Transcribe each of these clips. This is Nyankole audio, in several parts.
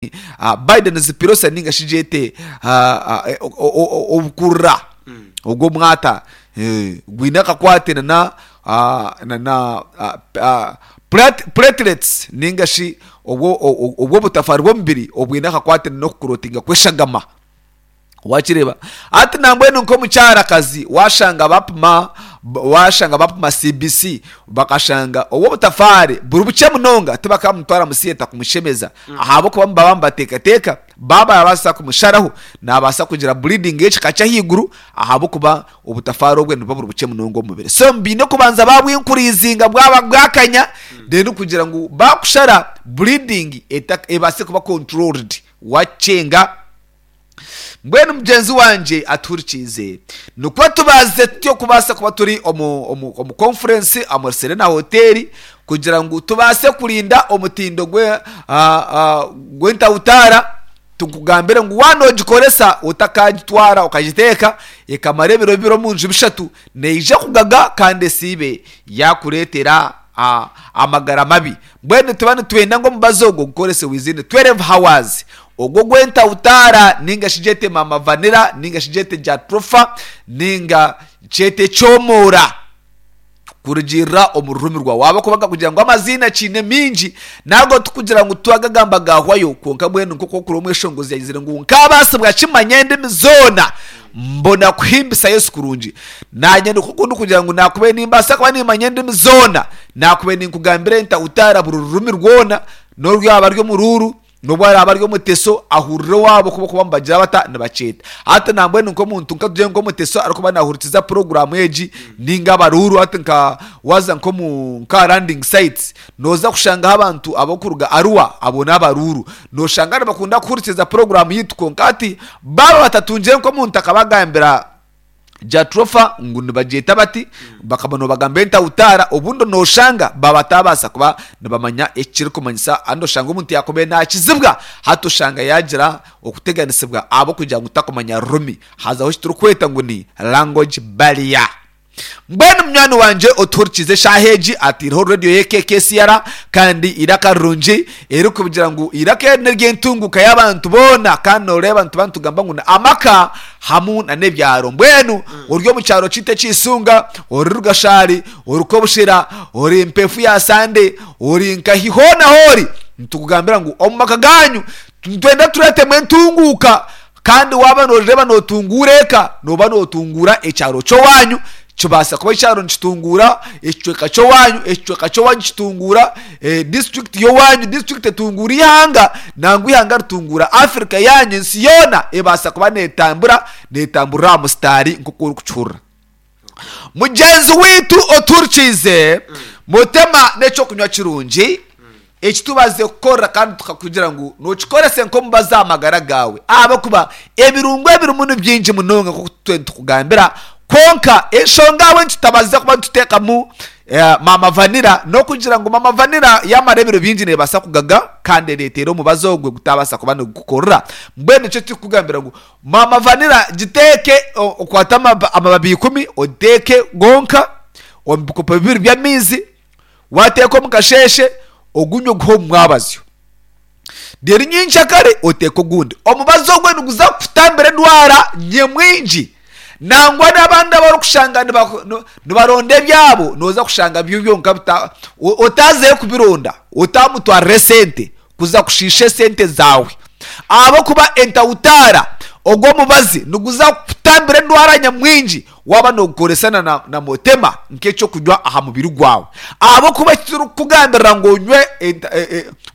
Biden Pirosa ninga shi gyete obukurura ogw'omwata gwine akakwate nana nana platelets ninga shi obw'obutafaari bw'omubiri obwine akakwate n'okukurotinga kw'eshagama. Wakireeba? Hati nambwenu nk'omukyarakazi washanga bapima washanga bapima CBC bakashanga obw'obutafaari buri bukye munonga tibakamutwara mu theatre kumushemeza ahabw'okuba nibaba nibateekateeka baaba barabaasa kumusharaho naabaasa kugira bleeding y'ekika ky'ahaiguru ahabw'okuba obutafaari obwe nibuba buri bukye munonga omu mubiri. So baine kubanza baabwinkuriizinga bwaba bwakanya then kugira ngu baakushara bleeding ebaase kuba controlled wakyenga. Mbwenu mugyenzi wangye atuhurikiize, nikwo tubazize tutyo kubaasa kuba turi omu, omu, omu conference omuri Serena Hotel kugira ngu tubaase kurinda omutindo gwe, gw'entawutaara. Tukugambire ngu waaba noogikoresa otakagitwara okagiteeka ekamara ebiro bibiri omu nju bishatu, neija kugaga kandi esiibe yaakureetera amagara mabi. Mbwenu nituba nitwenda ngu omubazi ogwo gukorese within 12 hours. Ogwo ogw'entawutaara nainga shi gyete maama vanilla nainga shi gyete jatropha nainga kyete ekyomoora kurugiirira omu rurimi rwawe. Ahabw'okuba nkakugira ngu amaziina kiine mingi nago tikugira ngu twagagamba gahwayo kwonka mbwenu nk'oku okura omweshongozi yagizire ngu nkaabaasibwa kimanya endimi zoona mbona kuhimbisa Yesu kurungi. Naanye nikwo ku ndikugira ngu naakubaire nimbaasa kuba nimmanya endimi zoona, naakubaire ninkugambira entawutaara buri rurimi rwona n'oru rwaba ruri omuruuru, N'obu araabe ari omuteso, ahurira owaabo ku barikuba nibagira bata? Nibakyeta. Hati nambwenu nk'omuntu nka tugire nk'omuteso arikuba naahurikiza puroguraamu egi nainga abaruuru hati nka waaza nk'omu nk'aha landing sites, nooza kushangaho abantu abarikuruga Arua, abo n'abaruuru. Nooshanga nibakunda kuhurikiza puroguraamu yaitu kwonka hati baaba batatungire nk'omuntu akabagambira Jatropha ngu nibagyeta bati, bakaba nobagamba entawutaara, obundi noshanga baba batabaasa kuba nibamanya ekirikumanyisa andi oshanga omuntu yakubaire nakizibwa hati oshanga yagira okuteganisibwa ahabw'okugira ngu takumanya rurimi hazaho ekiturikweta ngu ni language barrier. Mbwenu munywani wangye otuhurikiize eshaaha egi ataireho radio ye KKCR kandi eiraka rirungi erikugira ngu eiraka eri n'ery'entunguuka y'abantu boona kandi noreeba nituba nitugamba ngu ni amaka hamu na n'ebyaro. Mbwenu ori omu kyaro kyaitu eky'Isunga, ori Rugashari, ori Kobushera, ori Mpefu ya Sande, ori nkahi hoona hoori, nitukugambira ngu omu maka gaanyu nitwenda tureetemu entunguuka kandi waaba nooreeba nootunguura eka, nooba nootunguura ekyaro ky'owaanyu, kibaasa kuba ekyaro nikitunguura ekicweka ky'owaanyu, ekicweka ky'owaanyu kitunguura disiturikiti y'owaanyu, disiturikiti etunguura eihanga, nangwa eihanga ritunguura Afirika yaanyu, ensi yoona ebaasa kuba neetambura, neetamburira aha musitaari nk'oku orikukihurira. Mugyenzi waitu otuhurikiize, Mutema n'eky'okunywa kirungi eki tubazize kukorera kandi tukakugira ngu nookikorese nk'omubazi aha magara gaawe ahabw'okuba ebirungo ebirimu ni bingi munonga nk'oku tutwire nitukugambira. Kwonka enshonga ahabw'enki tutabazize kuba nituteekamu Maama Vanilla n'okugira ngu Maama Vanilla yaamara ebiro bingi neebaasa kugaga kandi ereetere omubazi ogwo gutabaasa kuba nigukukorera. Mbwenu nikyo turikukugambira ngu Maama Vanilla giteeke okwate amababi ikumi ogiteeke gonka omu bikopo bibiri by'amaizi, waateeka omu kasheeshe ogunywe oguhe omu mwabazyo. Reero nyenkyakare oteeke ogundi. Omubazi ogwo niguza kukutambira endwara nyamwingi. Nangwa n'abandi abarikushanga nibaronda ebyabo, nooza kushanga byo byonka otaazeyo kubironda, otaamutwarira esente kuza kushiisha esente zaawe. Ahabw'okuba entawutaara, ogwo omubazi niguza kukutambira endwara nyamwingi waaba noogukoresa na motema nk'eky'okunywa aha mubiri gwawe. Ahabw'okuba eki turikukugambirira ngu onywe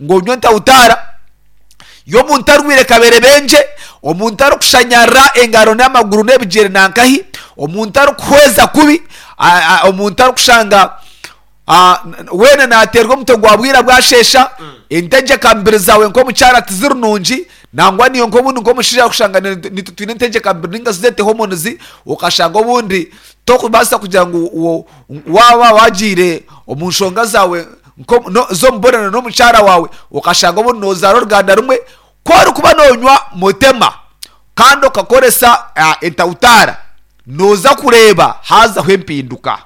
ngu onywe entawutaara y'omuntu arwaire kaberebengye, omuntu arikushanyarara engaro n'amaguru n'ebigyere nankahi, omuntu arikuhweza kubi, omuntu arikushanga Weena naateerwa omutwe gwa bwira bwasheesha, entegyeka mubiri zaawe nk'omukyara tiziri nungi, nangwa naiwe nk'obundi nk'omushaija orikushanga naitwe twine entegyeka mubiri nainga shi zeete hormones, okashanga obundi torikubaasa kugira ngu waaba waagiire omu nshonga zaawe z'omubonano n'omukyara waawe, okashanga obundi noozaara oruganda rumwe, ku orikuba noonywa motema kandi okakoresa entawutaara, nooza kureeba haazaho empinduka.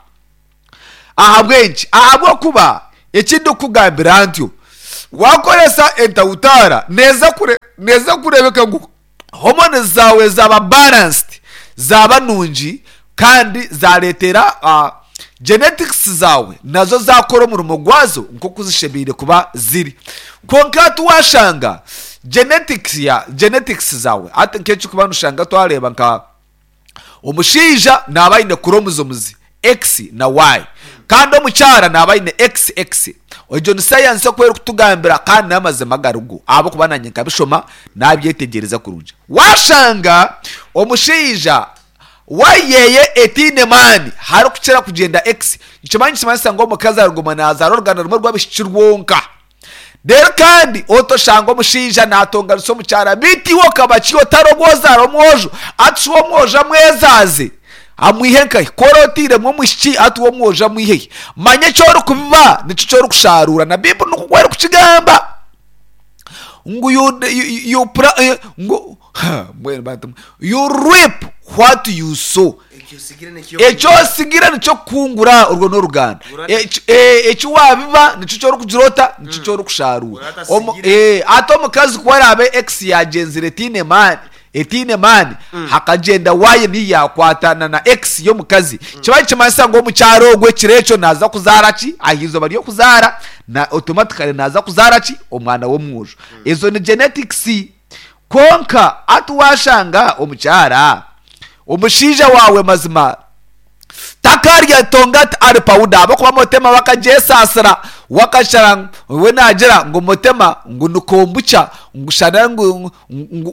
Ahabw'enki? Ahabw'okuba eki ndikukugambira ntyo, Wakoresa entawutaara neeza kure neeza kureebeka ngu hormones zaawe zaaba balanced, zaaba nungi kandi zaareetera genetics zaawe nazo zaakora omurimo gwazo nk'oku zishemereire kuba ziri. Kwonka hati waashanga genetics ya genetics zaawe hati nk'ekirikuba noshanga twareeba nka Omushaija naaba aine kuromozomuzi X na Y, kandi omukyara naaba aine XX. Egyo ni sayansi oku erikutugambira kandi n'amazima agarigo ahabw'okuba naanye nkabishoma naabyetegyereza kurungi. Waashanga omushaija Y yeye etaine maani harikukira kugyenda X, nikimanya nikimanyisa ngu omukazi ariguma naazaara oruganda rumwe rw'abaishiki rwonka. Reero kandi otoshanga omushaija naatonganisa omukyara, beitu iwe okaba ki otari ogu ozaara omwojo? Ati shi omwojo amwezaaze amwihe nkahi? Ku ori otairemu omwishiki, ati we omwojo amwihe hi? Manya eki orikubiba nikyo eki orikusharuura. Na Baiburi nikwo erikukigamba ngu you, you, you, ngu mbwenu bantu mwe, you reap what you sow. Eki osigire nikyo okukungura, orwo n'oruganda. Eki waabiba nikyo eki orikugira ota? Nikyo eki orikusharuura. Hati omukazi ku araabe X yaagyenzire etaine maani, etaine maani, hakagyenda Y niyo yaakwatana na X y'omukazi, kiba nikimanyisa ngu omukyara ogwo ekiro ekyo naaza kuzaara ki? Aha izooba ry'okuzaara, na automatically naaza kuzaara ki? Omwana w'omwojo. Ezo ni genetics. Kwonka hati waashanga omukyara, omushaija waawe mazima takarya tonga ari pawuda ahabw'okuba motema we akagyesaasira, we akashara we naagira ngu motema ngu ni kombucha ngu shana ngu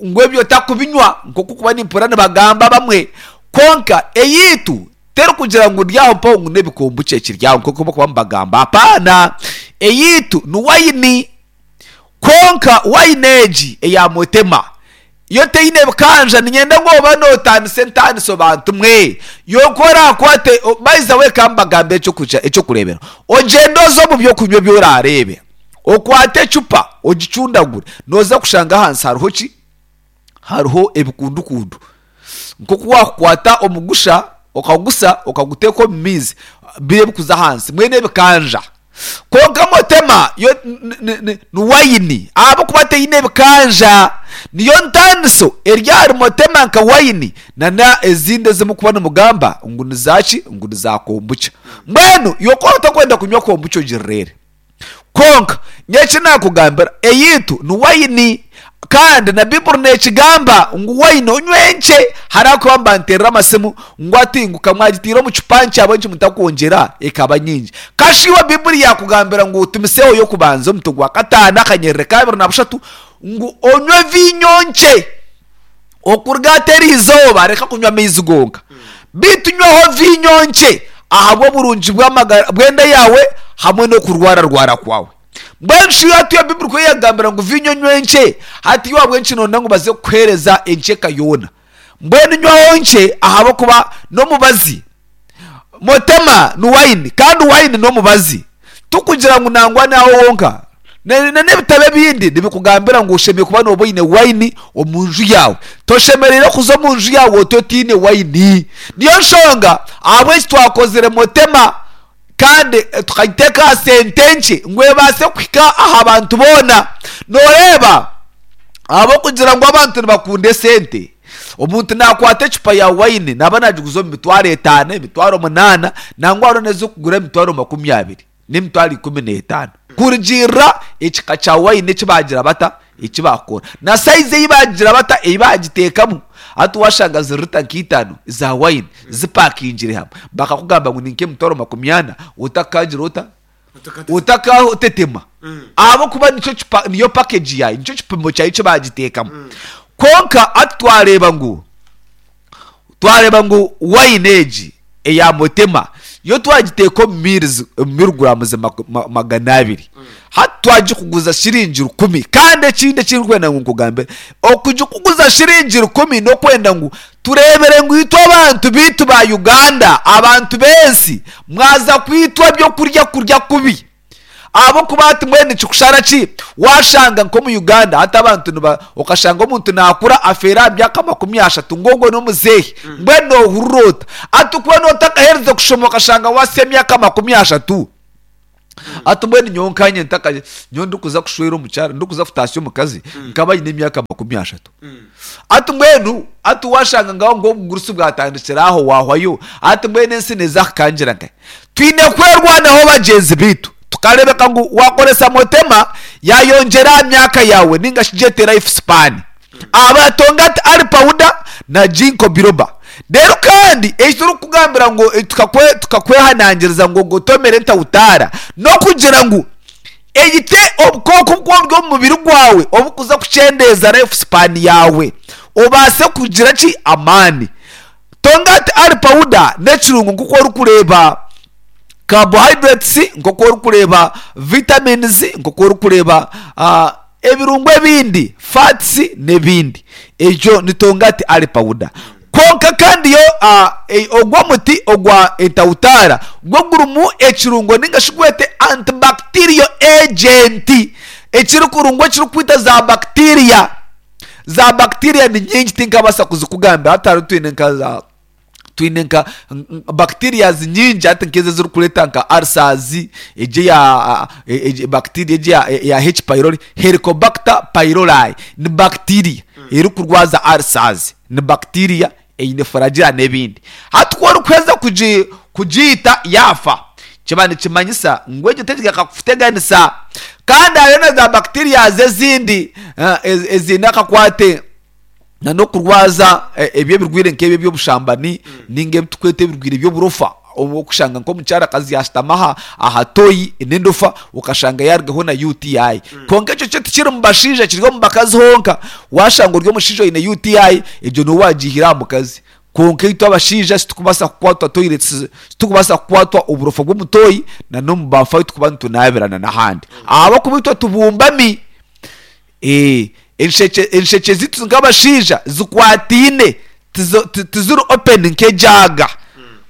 ngu ebyo takubinywa nk'oku kuba nimpurira nibagamba abamwe. Kwonka eyaitu terikugira ngu ndi aho mpaho ngu n'ebikombucha ekiri aho nk'oku barikuba nibagamba apaana. Eyaitu ni wayini. Kwonka waini egi eya Mutema yo teine bikanja, niinyenda ngu obe nootaanisa entaaniso bantu mwe. Yo ku oraakwate, by the way ka mbagambire eky'okureeberaho, ogyende oze omu by'okunywa ebi oraareebe, okwate ecupa ogicundagure, nooza kushanga ahansi hariho ki? Hariho ebikundukundu. Nk'oku waakukwata omugusha okagusa okaguteeka omu maizi, biri ebikuza ahansi mbwenu ebikanja. Kwonka motema yo ni wayini ahabw'okuba teine ebikanja. Niyo ntaaniso eri ahari motema nka wayini nana ezindi ezi murikuba nimugamba ngu ni zaaki? Ngu ni za kombucha. Mbwenu iwe ku otakwenda kunywa kombucha ogireere. Kwonka nyowe eki naakugambira, eyaitu ni waini, kandi na Baiburi neekigamba ngu waini onywe nkye. Hariho abakuba nibanteerera amasimu ngu ati ngu ka mwagitaire omu cupa nkye ahabw'enki mutakwongyera ekaba nyingi? Kasha iwe Baiburi yaakugambira ngu Timotheo y'okubanza omutwe gwa kataano akanyerere ka abiri na bushatu ngu onywe viinyo nkye. Okuruga hati eri izooba reka kunywa amaizi gonka, beitu nywaho viinyo nkye ahabw'oburungi bw'amagara bw'enda yaawe hamwe n'okurwararwara kwawe. Mbwenu shi hati iyo Baiburi ku eyagambira ngu viinyo onywe nkye, hati iwe ahabw'enki noyenda ngu baze kukuheereza enkyeka yoona? Mbwenu nywaho nkye ahabw'okuba n'omubazi. Motema ni wayini kandi wayini n'omubazi. Tikugira ngu nangwa n'aho wonka. N'ebitabo ebindi nibikugambira ngu oshemereire kuba nooba oine wayini omu nju yaawe. Toshemereire kuza omu nju yaawe oti otaine wayini. Niyo nshonga ahabw'enki twakozire Motema kandi tukagiteeka aha sente nkye ngu ebaase kuhika aha bantu boona. Nooreeba ahabw'okugira ngu abantu nibakunda esente. Omuntu naakwata ecupa ya waini naaba naagiguza omu mitwaro etaano, emitwaro munaana, nangwa hariho n'ezirikugura emitwaro makumyabiri n'emitwaro ikumi n'etaano. Kurugiirira ekika kya waini eki baagira bata, eki baakora, na sayizi ei baagira bata, ei baagiteekamu. Hati waashanga ziri rita nk'eitaano za waini zipakingire hamwe, bakakugamba ngu ni nk'emitwaro makumyana, otakagira ota? Otakatetema ahabw'okuba nikyo kipa niyo package yaayo, nikyo kipimo kyayo eki baagiteekamu. Kwonka hati twareeba ngu twareeba ngu wine egi eya Motema yo twagiteeka omu miilizi omu miliguraamuzi 200 hati twagikuguza shiringi rukumi. Kandi ekindi eki ndikwenda ngu nkugambire, okugikuguza shiringi rukumi n'okwenda ngu Tureebire ngu itwe abantu baitu ba Uganda, abantu b'ensi, mwaza kwitwa eby'okurya kurya kubi. Ahabw'okuba hati mbwenu nikikushara ki waashanga nk'omu Uganda hati abantu niba okashanga omuntu naakura afeere aha myaka 30 ngu ogwo n'omuzeehi mbwenu noohurira ota? Hati okuba nootakaheerize kushoma okashanga waasya emyaka 30. Hati mbwenu nyowe nkanye ntaka nyowe ndikuza kushwera omukyara ndikuza kutaasya omukazi nkaba nyine emyaka 30. Hati mbwenu hati waashanga ngaho ngu obugurusi bwatandikira aho waahwayo hati mbwenu ensi neeza kukangira nkahi? Twine kwerwanaho bagyenzi baitu tukareebeka ngu waakoresa motema yaayongyera aha myaka yaawe nainga shi gyete life span. Aba Tongati Ali Powder na Ginkgo Biloba. Reero kandi eki turikukugambira ngu tukakwehanangiriza ngu ogotomere entautaara n'okugira ngu eyite obukooko oburi omu mubiri gwawe oburikuza kukyendeeza life span yaawe obaase kugira ki? Amaani. Tongati Ali Powder n'ekirungo nk'oku orikureeba carbohydrates, nk'oku orikureeba vitamins, nk'oku orikureeba Ebirungo ebindi, fats n'ebindi. Egyo ni tongati ali pawuda. Kwonka kandi yo ogwo omuti ogwa entautaara gwo gurimu ekirungo ninga shi gwete antibacterial agent ekirikurungo ekirikwita za bacteria. Za bacteria ni nyingi tinkabaasa kuzikugambira hati hariho twine nka za Twine nka bacterias nyingi hati nk'ezo ezirikureeta nka ulcers, egyo eya bacteria egyo eya H pylori, Helicobacter pylori ni bacteria erikurwaza ulcers, ni bacteria eine flagella n'ebindi. Hati ku orikuheza kugiita yaafa, kiba nikimanyisa ngu egyo tekigaruka kukuteganisa. Kandi hariyo na za bacterias ezindi eziine akakwate. na n'okurwaza ebyo ebirwaire nk'ebyo eby'obushambani ninga ebi turikweta ebirwaire by'oburofa obu orikushanga nk'omukyarakazi yaashutama aha aha toyi n'endofa okashanga yaarugaho na UTI. Kwonka ekyo kyo tikiri mu bashaija kiri omu bakazi honka. Waashanga ori omushaija oine UTI egyo niiwe waagiihire aha mukazi. Kwonka itwe abashaija titurikubaasa kukwatwa toilet titurikubaasa kukwatwa oburofa bw'omu toyi na n'omu baafu ahu turikuba nitunaabirana n'ahandi. Ahabw'okuba itwe tubumbami. Ee, enshekye, enshekye zaitu nk'abashaija zikwataine, tizo, ti, tiziri open nk'ejaaga.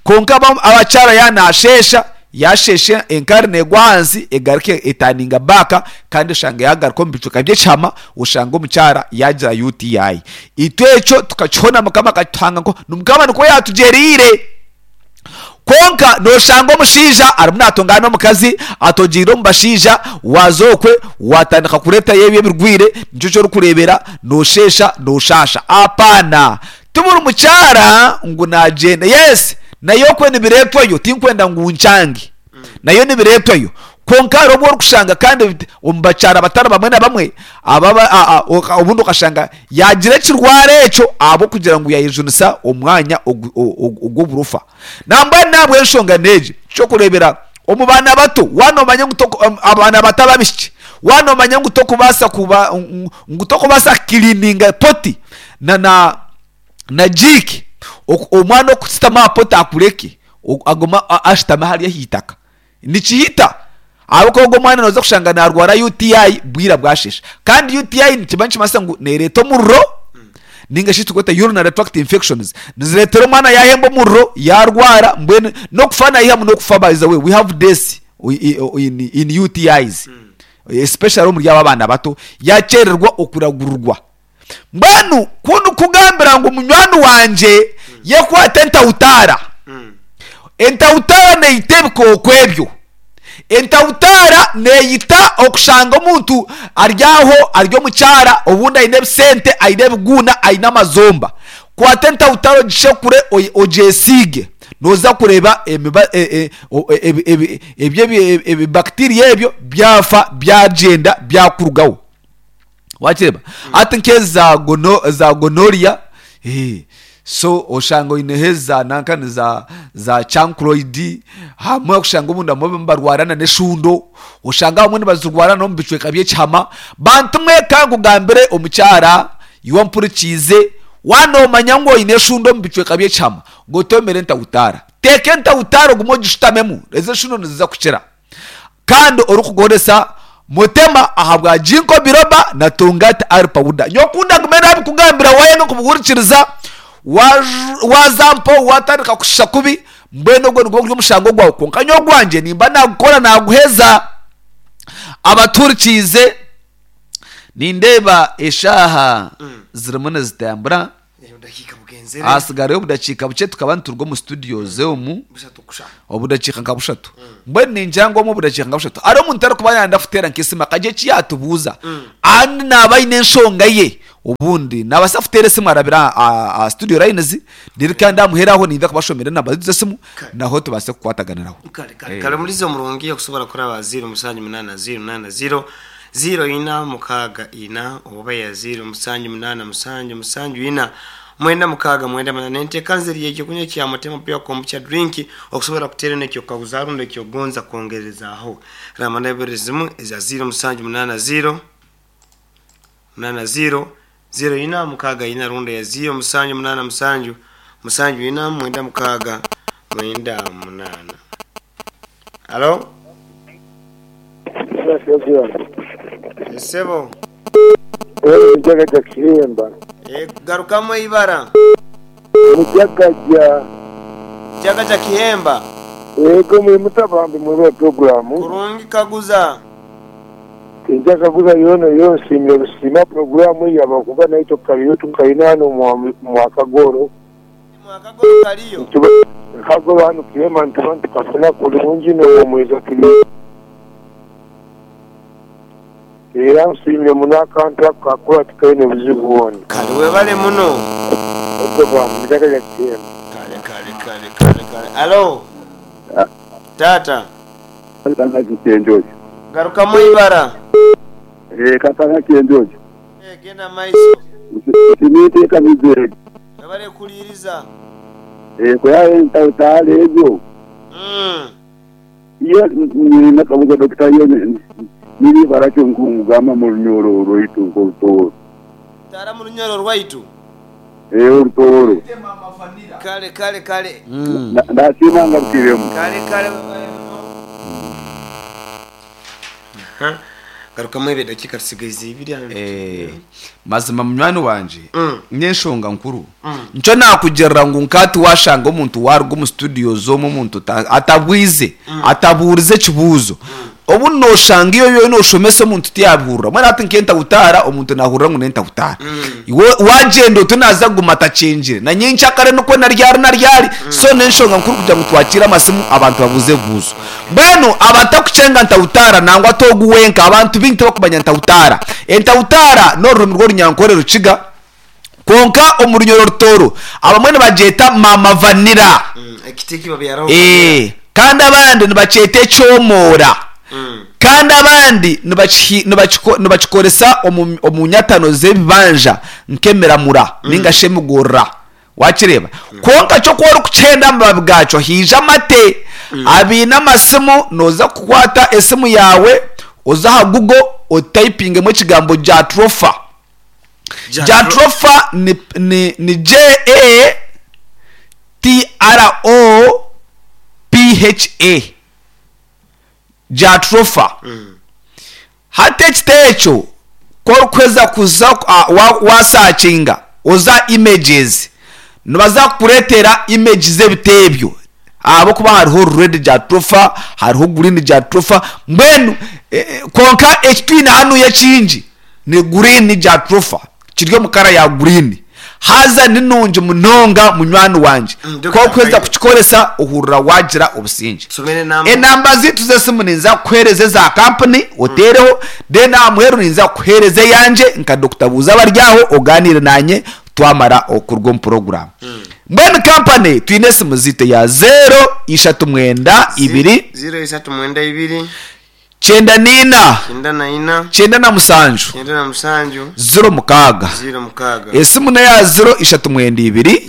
Kwonka aba, abakyara yaaba naasheesha, yaasheesha enkari neegwa ahansi egaruka etaninga back kandi oshanga yaagaruka omu bicweka by'ekihama, oshanga omukyara yaagira UTI. Itwe ekyo tukakihona Mukama akakituhanga nko, Mukama nikwo yaatugyereire. Kwonka nooshanga omushaija arimu naatongana n'omukazi, atogyeire omu bashaija, waaza okwe waatandika kureetayo ebyo ebirwaire, nikyo eki orikureebera noosheesha nooshaasha. Apaana! Ti buri mukyara ngu naagyenda. Yes, nayo okwe nibireetwayo, tinkwenda ngu nkyange. Nayo nibireetwayo. Kwonka hariho obu orikushanga kandi omu bakyara batari bamwe na bamwe, aba obundi okashanga yaagira ekirwara ekyo ahabw'okugira ngu yaayejunisa omwanya ogw'oburofa. Nambwenu n'ahabw'enshonga n'egi, ky'okureebera omu baana bato, waaba noomanya ngu abaana bato ab'abaishiki, waaba noomanya ngu tokubaasa kuba ngu tokubaasa kukiriininga poti na na na jiiki, omwana okushutama aha poti akureke, agume ashutame hariya aha itaka. Nikihita ahabw'okuba ogwo omwana nooza kushanga naarwara UTI bwira bwasheesha. Kandi UTI nikiba nikimanyisa ngu neereeta omuriro ninga shi ekiturikweta urinary tract infections. Nizireetera omwana yaahemba omuriro, yaarwara mbwenu n'okufa naihamu n'okufa by the way we have deaths in UTIs especially omuri abo abaana bato yaakyererwa okuragurirwa. Mbwenu ku ndikukugambira ngu munywani wangye yekwate entautaara, entautaara neita ebikooko ebyo. Entautaara neita okushanga omuntu ari aho ari omukyara obundi aine ebisente, aine ebiguuna, aine amazomba. Kwata entautaara ogishekure ogyesiige nooza kureeba ebibacteria ebyo byafa byagyenda byakurugaho. Wakireeba? Hati nk'ezi za gono za gonorrhea eh, so oshanga oineho eza nanka ni za za chancroid, hamwe oshanga obundi abamwe nibarwara na n'eshundo, oshanga abamwe nibazirwara n'omu bicweka by'ekihama. Bantu mwe ka nkugambire omukyara iwe ompurikiize, waaba noomanya ngu oine eshundo omu bicweka by'ekihama, gotomere entautaara. Teeka entautaara ogume ogishutamemu, ezo eshundo niziza kukira. Kandi orikukoresa mutema ahabwa Ginkgo biloba na Tongkat Ali powder. Nyowe ku ndagume nabikugambira waayanga kubihurikiriza, waaza mpaho waatandika kushisha kubi, mbwenu ogwo nigwo guri omushango gwawe. Kwonka nyowe ogwangye nimba naagukora naaguheza. Abatuhurikiize, nindeeba eshaaha zirimu nizitambura. Obudakiika bugenzire. Hasigarayo obudakiika bukye tukaba nituruga omu studios omu. Bushatu kusha. Obudakiika nka bushatu. Mbwenu ningira ngu omu obudakiika nka bushatu hariho omuntu arikuba nayenda kuteera nk'esimu akagira eki yaatubuuza and naaba aine enshonga ye obundi naabaasa kuteera esimu arabire aha studio lines reero kandi aha muheru aho ninza kubashomera enamba zaitu z'esimu naho tubaase kukwataganiraho. Kare kare kare omulizi omurungi okusobora kuraba 0 musanju munana 0 nana 0 0 ina mukaaga ina oba ya 0 musanju munana musanju musanju ina Mwenda mukaaga mwenda munana enteekaniza eri y'ekyokunywa kya Mutema Pure Kombucha Drink okusobora kuteera n'ekyokukaguza rundi eky'okugonza kwongerezaaho. Ramba n'ebiro ezimu eza ziiro musanju munaana ziiro munaana ziiro ziiro ina mukaaga ina rundi eya ziiro musanju munaana musanju musanju ina mwenda mukaaga mwenda munaana. Halo? Esebo. Mujagaja Kihemba. Garukamu eibara. Mujagaja. Mujagaja Kihemba. Ego muri muta bambi mwebale puroguramu. Kurungi kaguza. Tinja kaguza yoona yo nsiimire busiima puroguramu eyo ahabwokuba naitwe kariyo tukaine hanu omwa Kagoro. Mwakagoro kaliyo. Kagoro hanu Kihemba nituba nitukafuna kurungi nohumuriza turi. Era nsiimire muno akantu ako kakora tikaine buzibu bwona. Kale webale muno. Ego bambi itaka lya Kihemba. Kale kale kale kale kale. Alo taata. Katanga ki kyenjojo. Garukamu eibara. Eeh katanga kyenjojo. Eeh genda maiso. Nsiima enteekaniza egi. Webale kuliiriza. Eeh kuyaha entawutaara ezo. Iyo nyine akabuzo Dokita iyo niri ibara ki nkugamba mu Runyoro rwaitu nk'Orutooro. Taara mu Runyoro rwaitu. Ee Orutooro. Kale kale kale. Nasiima ngarukiremu. Kale kale webale muno. Aha. Garukamu ebyo edakiika tusigaize ibiri. Eh, mazima munywani wangye n'enshonga nkuru nikyo naakugirira ngu nka tiwaashanga omuntu waaruga omu studios omu omuntu atabwize atabuurize ekibuuzo obu nooshanga iwe oriyo nooshomesa omuntu tiyaabihurira mbwenu hati nk'entahutaara omuntu naahurira ngu n'entahutaara iwe waagyenda oti naaza kuguma atakyengire na nyenkyakare nikwo na ryari na ryari so n'enshonga nkuru kugira ngu twakiire amasimu abantu babuuze ebibuuzo Mbwenu abatakukyenga ntahutaara nangwa ti ogu wenka, abantu baingi tibakumanya ntahutaara. Entahutaara n'orurimi rw'Orunyankore Rukiga, kwonka omu Runyoro Rutooro abamwe nibagyeta maama vanira. Ee, kandi abandi nibakyeta ekyomoora. Kandi abandi nibakikoresa omu nyatano z'ebibanja nk'emiramura nainga shi emigorora. Wakireeba? Kwonka kyo ku orikukyenda amababi gaakyo haija amate. Abaine amasimu nooza kukwata esimu yaawe oze aha Google otayipingemu ekigambo Jatropha. Jatropha ni, ni, ni J-A-T-R-O-P-H-A. Jatropha. Hati ekiti ekyo ku orikuheza kuza wasakinga oze aha images nibaza kukureetera image z'ebiti ebyo ahabw'okuba hariho red jatropha, hariho green jatropha mbwenu kwonka eki twine hanuya ekingi ni green jatropha kiri omu kara ya green haza ni nungi munonga munywani wangye ku orikuheza kukikoresa ohurira waagira obusingye. Enamba zaitu z'esimu ninza kukuheereza eza kampuni oteereho then aha muheru ninza kukuheereza eyangye nka Dokita Buuza Abaryaho ogaaniire naanye twamara okuruga omu puroguraamu. Mbwenu kampani twine esimu zaitu eya zeero ishatu mwenda ibiri. Zeero ishatu mwenda ibiri. 94. 97. 06. Esimu n'eya 0392.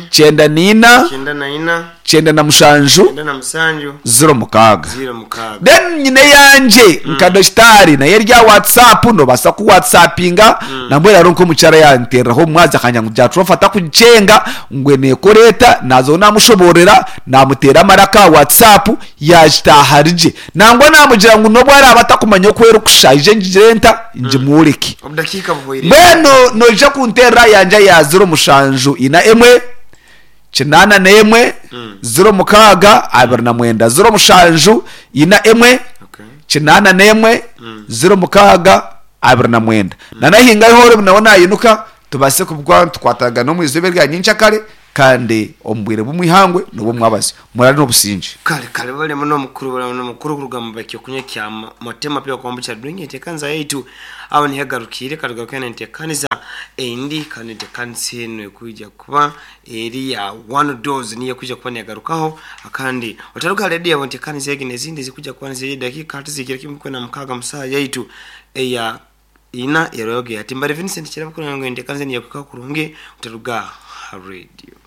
94. 97. 06. Then nyine eyangye nka Dokitaari nayo eri aha WhatsApp noobaasa ku WhatsAppinga nambwenu hariho nk'omukyara yaanteereraho omu mwazyo akangira ngu Jatropha takugicenga ngu neekora eta naazaho naamushoboororera naamuteera amaraka aha WhatsApp Yaagitaaha rigye. Nangwa naamugira ngu n'obu araabe atakumanya oku erikushusha, aije ngigire nta? Ngimworeke. Mbwenu noija kunteerera yangye ya ziro mushanju ina emwe, kinaana n'emwe, ziro mukaaga, 29. 0 7 4 1, 81 0 6 29. Nanahingayo hoorebu nawe naayinuka. Tubaase kuba nitukwatagana omu izooba erya nyenkyakare kandi omu bwire bw'omwihangwe n'obw'omwabazyo. Muraare n'obusingye. Kare kare baremu n'omukuru baremu n'omukuru kuruga mu ekyokunywa kya Motema Pure Kombucha Drink enteekaniza yaitu aho niho egarukiire katugarukeyo n'enteekaniza endi kandi enteekanisa enu ekwija kuba eri ya One Dose niyo ekwija kuba negarukaho kandi otaruga aha rediyo yawe enteekaniza egi n'ezindi ezikwija kuba niziija edakiika tizihikire kimwe kwenda mukaaga mu saaha yaitu eya Ina eroge ati, Mbare Vincent Kirabo kureba ngu enteekaniza enu yakuhikaho kurungi otaruga aha rediyo.